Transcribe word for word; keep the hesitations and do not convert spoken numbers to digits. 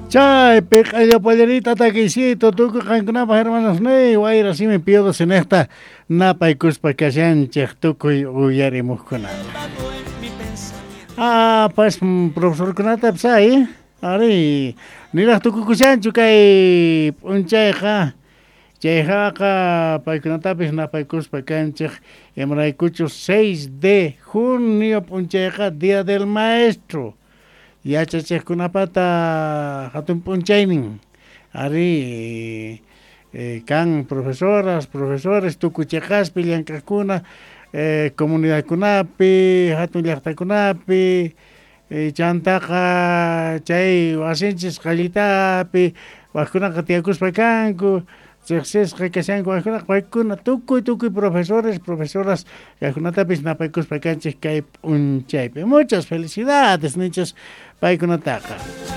Chay piq'allapallarita takisito tukuy qankunapaq hermanos ni wayra simi piodo sinejta napaykuspa kashanchik tukuy uyarimuqkunata. Ah, pues profesorkunata ay, ari niraq tukukushanchu kay p'unchayqa chayhaqa paykunatapis napaykuspa kanchik imaraykuchu seis de junio p'unchayqa Día del Maestro yachachiqkunapata hatun p'unchaynin ari eh, kan profesoras, profesores tukuy chiqaspi llank'aqkuna eh, comunidadkunapi hatun llaqtakunapi eh, chantaqa chay wasinchis qallitapi waqkunaqa tiyakuspa kanku riqsisqa kashanku waqkunaqa paykuna tukuy tukuy profesores, profesoras kaykunatapis napaykuspa kanchik kay p'unchaypi. Muchas felicidades ninchis paykunataqa.